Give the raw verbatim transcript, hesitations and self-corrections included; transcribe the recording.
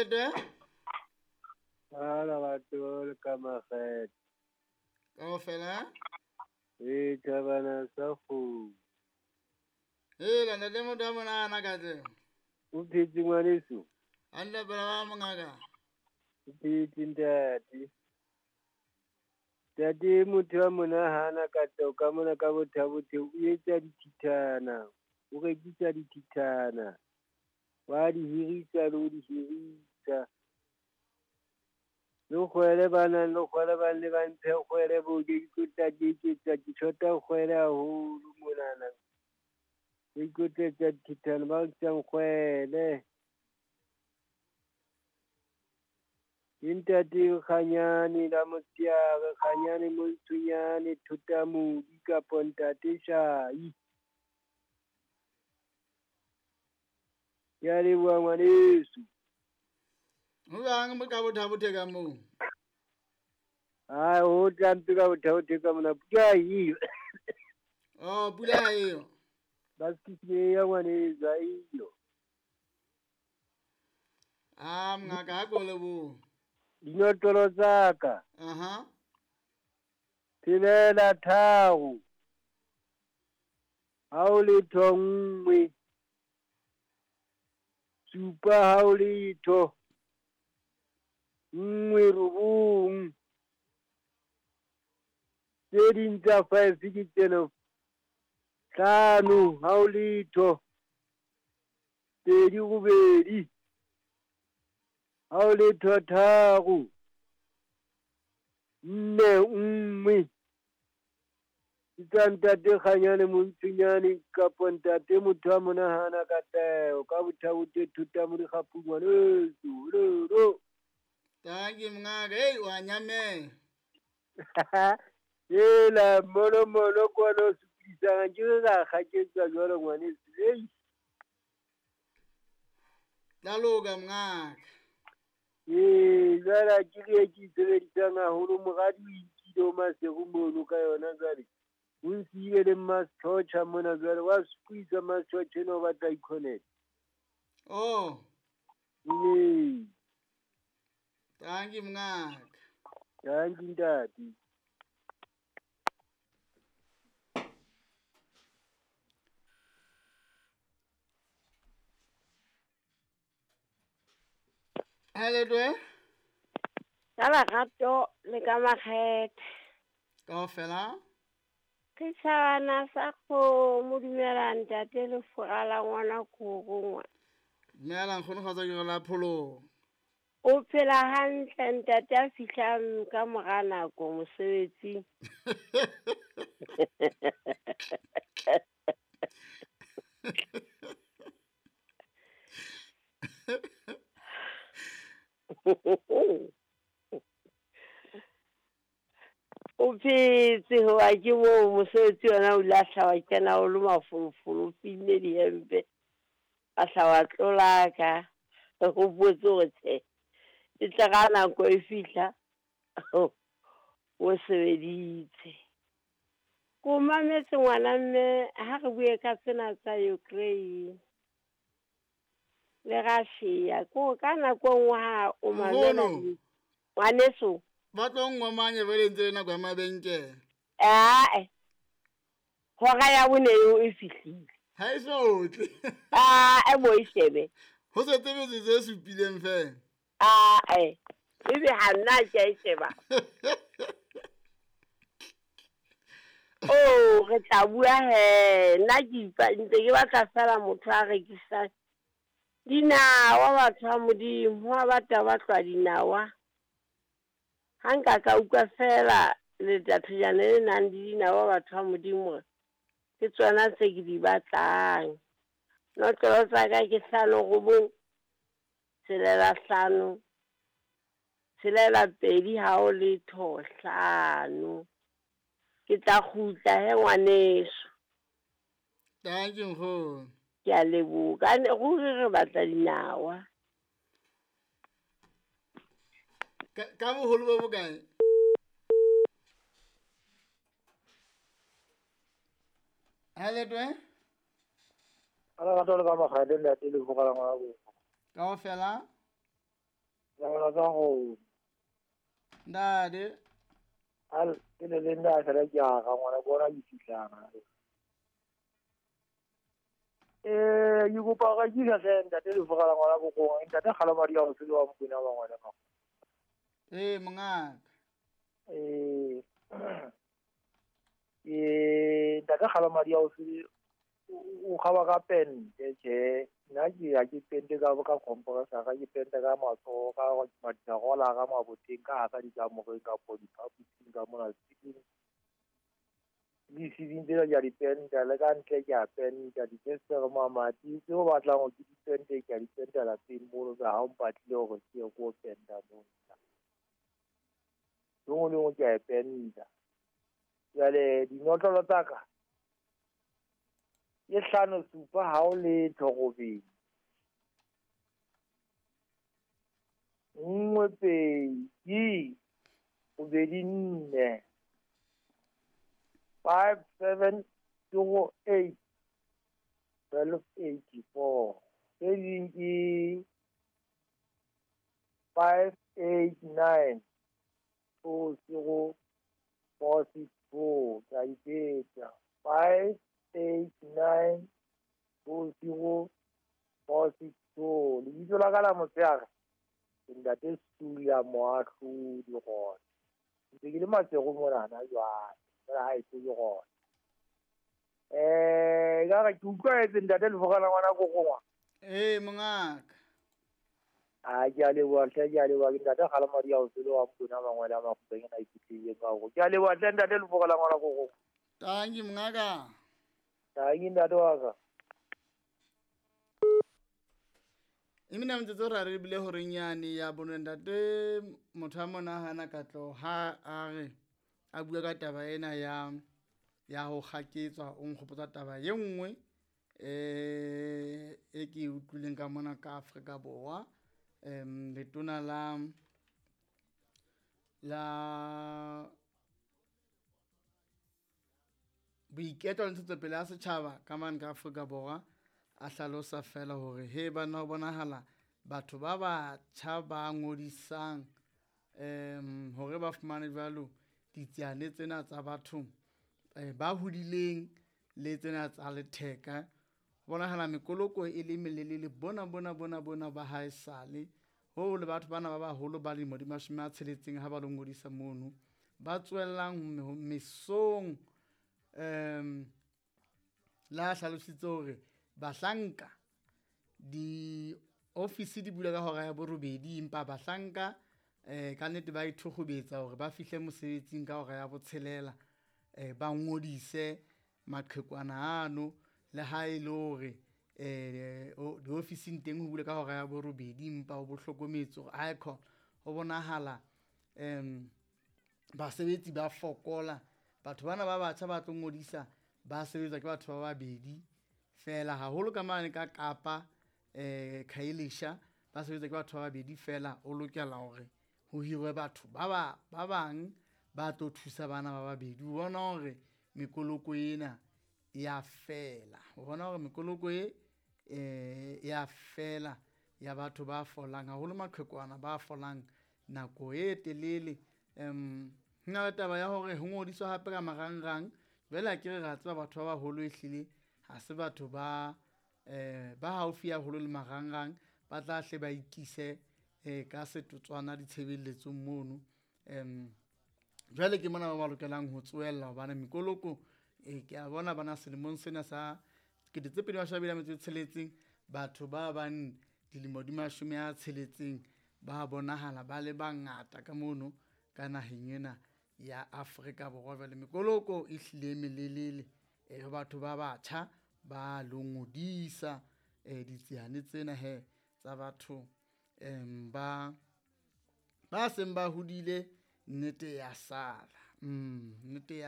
Hello. Ka lerato le ka makgethe. Kaofela. E thabana sa kgomo. Hela ntate motho wa monana Katleho. O phetse ngwaneso? Hantle pela ba mongaka. O phetse ntate. Ntate motho wa monahana Katleho ka mona ka Botha-Bothe o etsa dithithana, o rekisa dithithana. Wa di hirisa le ho di hirisa. Le kgwele ba nang le kgwele ba nne ba mphe kgwele bo ke ikotla ke iketsa ke shota kgwele haholo monana. Ke ikotletsa dithithana ba rekisang kgwele. Ke ntate Kganyane la motsheare, Kganyane Montshonyane, Thotamodi kapo ntate Shai. Ke a leboha ngwaneso. Ho jwang ka Botha-Bothe ka moo? Hai, ho tla mpe ka Botha-Bothe ka mona pula ha eyo. Oh, pula ha eyo. Basikisi ya ngwaneso ha eyo. Ah, mongaka ha ko leboha. Dinotlolo tsa ka. Aha. Tshelela tharo. Ha o letho nngwe. Supa ha o letho. Nngwe robong. Tse ding tsa five ke tsena. Hlano ha o letho. Pedi robedi. Ha o letho tharo. Nne nngwe. Ke tsa ntate Kganyane Montshonyane kapo ntate motho wa monahana Katleho ka Botha-Bothe Thotamodi Kgapung ngwaneso. Lolo. Thank you mongaka. Hey, wa nyamela. Hela mono mono kwana o supisang ke re ra kgaketsa jwalo ngwaneso. Hey. Tla loka mongaka. Ee, jwale ke re ke sebedisang haholo moradi o inkile o Maseru mono ka yona jwale. O nsiile le Mmasechocha mona jwale wa squeeze Mmasechocha ena o batla i-connect. Oh. Ee. Thank you mongaka. Thank you ntate. Hello. Ka lerato le ka makgethe. Kaofela. Ke tshwana sa kgomo dumela ntate le fora la ngwana korongwa. Dumela nkgono kgotsa ke la pholo. O phela hantle ntate a fihlang ka mora nako mosebetsing. O phetse hoba ke moo mosebetsi ona o lahla wa kena o le mafolofolo, o finne dihempe, a hla wa tlolaka, o hopotse hore tjhe, e tla ka nako e fihla o sebeditse. Ko mametse ngwana mme ha re bue ka tsena tsa Ukraine le Russia, ko ka nako nngwe ha o mamela ngwaneso. Ba tlo ngomanye ba le ntse le nako ya mabenkele. Ae. Hora ya bone eo e fihlile. Ha e so tle. Ae bo e shebe. Ho setse metsotso e supileng fela. Ae. Ebe ha nna ke a e sheba. Oh, re tla bua he. Nna ke ipa ntse ke batla fela motho a rekisang dinawa batho ba Modimo, ha batho ba tlwa dinawa. Ha nka ka utlwa fela letathejana le nang le dinawa batho ba Modimo, ke tsona tse ke di batlang. Notlolo tsa ka ke hlano robong, tshelela hlano, tshelela pedi ha o letho hlano. Ke tla kgutla he ngwaneso. Thank you nkgono. Ke a leboha. Ruri re batla dinawa. Ka ka boholo bo bokae? Hello twe. Ala lerato le ka makgethe ntate le fora la ngwana. Kaofela. La tsa go. Ntate. Al ke le le nda sala ke a ga ngwana bona ke fihlang. Eh ke kopa ga ke ka tle ntate le fogala ngwana go gongwe ntate gala madi a go tsele wa Mokwena wa ngwana ka. Eh mongaka. Eh eh ntate gala madi a go tsele o gaba ka pente tje nna ke ya ke pente ka ka komporesa ka ke pente ka matsogo ka madiagola ka maboteng ka ka dikamoreng ka po diphaposing ka mona tse di seding tsela ke a di penta le ka ntle ke a penta difestere mamati tse o batlang go ke di pente ke a di penta lapeng mono ka ha o mpatlile gore ke ye ko penta mono lengwe lengwe ke a e penta. Jale dinotlolo tsa ka ke hlano supa ha o letho robedi nngwe pedi robedi nne five seven two eight twelve eighty four tse ding ke five eight nine two zero four six four ke a ipetsa five eight nine two zero four six two. Lebitso la ka la motshehare ke ntate Sulia Moahlodi gona ntse ke le Matsego monana jwale fela ha e se ke gona. Eh ka re ke utlwaetse ntate Lefokana ngwana ko gongwa. Eh mongaka. A ke a leboha hle, ke a leboha ke ntate gala madi a o tsele wa Mokwena mangwele a makgobeng a ikutlwile ka go. Ke a leboha hle ntate Lefokana ngwana ko gongwa. Tanki mongaka. Tanki ntate wa ka. Emina metsotso ra re bile horeng yane ya bone ntate motho a monahana ka tlo ha a re a bua ka taba ena ya ya ho kgaketswa o nkgopotsa taba ye nngwe eh e ke utlwileng ka mona ka Afrika Borwa. Em letona la la boiketlo le ntshetsopele ya setjhaba ka mane ka Afrika Borwa a hlalosa fela hore he bana ho bonahala batho ba batjha ba ngodisang em hore ba fumane jwalo ditsiane tsena tsa batho ba hodileng le tsena tsa letheka. Bonahala mekoloko e le melelele bona bona bona bona ba haesale ho le batho bana ba baholo ba lemo di mashome a tsheletseng ha ba lo ngodisa mono ba tswellang mesong em la hlalositse hore bahlanka di office di bula ka hora ya borobedi empa bahlanka eh ka nnete ba ithokgobetsa hore ba fihle mosebetsing ka hora ya botshelela eh ba ngodise maqhekwana ano le ha e le hore eh di office teng ho bula ka hora ya borobedi empa o bohlokometse hore icon ho bonahala em basebetsi ba fokola batho bana ba batjha ba tlo ngodisa ba sebetsa ke batho ba babedi fela haholo ka mane ka Kapa eh Khayelitsha ba sebetsa ke batho ba babedi fela o lokela hore ho hirwe batho ba ba ba bang ba tlo thusa bana ba babedi. O bona hore mekoloko ena ya fela, o bona hore mekoloko e eh ya fela ya batho ba folang haholo maqhekwana ba folang nako e telele. Em hona le taba ya hore ho ngodiswa hape ka marangrang jwale ha ke re ra tseba batho ba baholo ehlile ha se batho ba eh ba haufi haholo le marangrang ba tla hle ba ikise eh ka setotswana ditshebeletsong mono. Em jwale ke mona ba ba lokelang ho tsoella hobane mekoloko e ke a bona bana selemong sena sa kete tse pedi mashome a mabedi a metso e tsheletseng batho ba bang dilemo di mashome a tsheletseng ba bonahala ba le bangata ka mono ka naheng ena ya Afrika Borwa. Jwale mekoloko e hlile melelele e ho batho ba batjha ba lo ngodisa eh ditsiane tsena he tsa batho em ba ba seng ba hodile nnete ya sala mm nnete ya